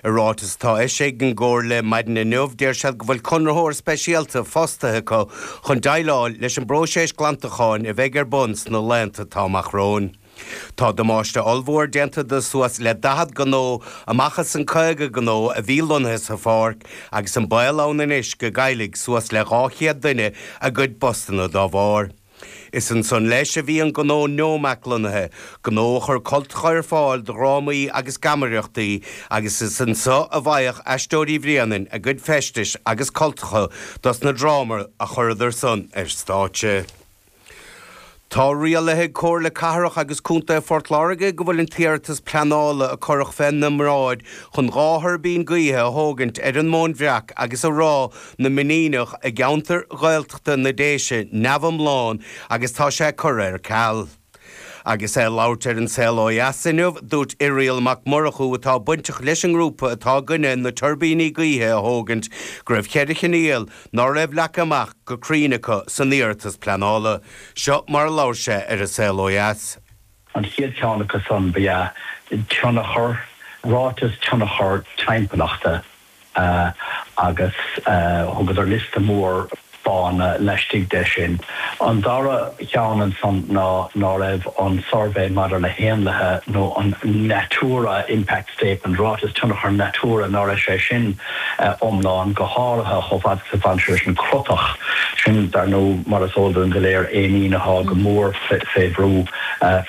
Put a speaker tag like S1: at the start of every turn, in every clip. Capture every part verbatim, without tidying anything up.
S1: I ráiteas atá eisithe ag an gComhairle maidin inniu deir siad go bhfuil conraitheoir speisialta fostaithe acu chun déileáil leis an bpróiseas glantacháin a bheidh ar bun sna laethanta atá amach romhainn. Tá damáiste ollmhór déanta de suas le daichead gnó amach as an caoga gnó a bhí lonnaithe sa pháirc agus an baol ann anois go gcaillfidh suas le dhá chéad duine a gcuid postanna dá bharr. Is ansan leis a bhí an gnó Neomac lonnaithe, gnó a chuir cultacha ar fáil do dhrámaí agus geamaireachtaí agus is anseo a bhfaigheadh Aisteoirí Bhréanainn a gcuid feistis agus cultacha dos na drámaí a chuireadar san ar stáitse. Tá rialaithe ag Comhairle Cathrach agus Contae Phort Láirge go bhfuil an t-iarratas pleanála a cuireadh féna mbráid chun dhá thuirbín gaoithe a thógaint ar an Móin Bhreac agus i Ráth na Mainíneach i gceantar Gaeltachta na Déise neamhiomlán agus tá sé curtha ar ceal. Agus é ag labhairt ar An Saol Ó Dheas inniu, dúirt Irial Mac Murchú atá bainteach leis an ngrúpa atá i gcoinne na tuirbíní gaoithe a thógaint go raibh ceithre choinníoll ná raibh leagtha amach go cruinn acu san iarratas pleanála. Seo mar a labhair sé ar An Saol Ó Dheas.
S2: An chéad cheann acu san ba ea tionchar, ráiteas tionchar timpeallachta agus thugadar liosta mór fáthanna laistigh de sin. An dara ceann ansan ná ná raibh an suirbhé maidir le héanlaithe nó an Natura Impact Statement ráiteas tionchar Natura ná raibh sé sin iomlán go háirithe chomh fada is a bhain sé leis an crotach sin dar ndóigh mar is eol dúinn go léir éinín atá go mór fé bhrú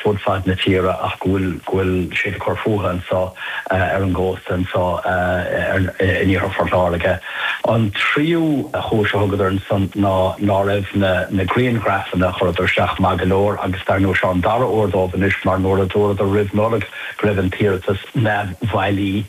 S2: fud fad na tíre ach go bhfuil go bhfuil sé ag cur fúthu anseo ar an gcósta anseo in iarthar Phort Láirge. An tríú chúis a thugadar ansan ná ná raibh na na grianghrafanna a chuireadar isteach maith go leor agus dar ndóigh seo an dara huair dóibh anois mar nuair a dúradar roimh Nollaig go raibh an t-iarratas neamhbhailí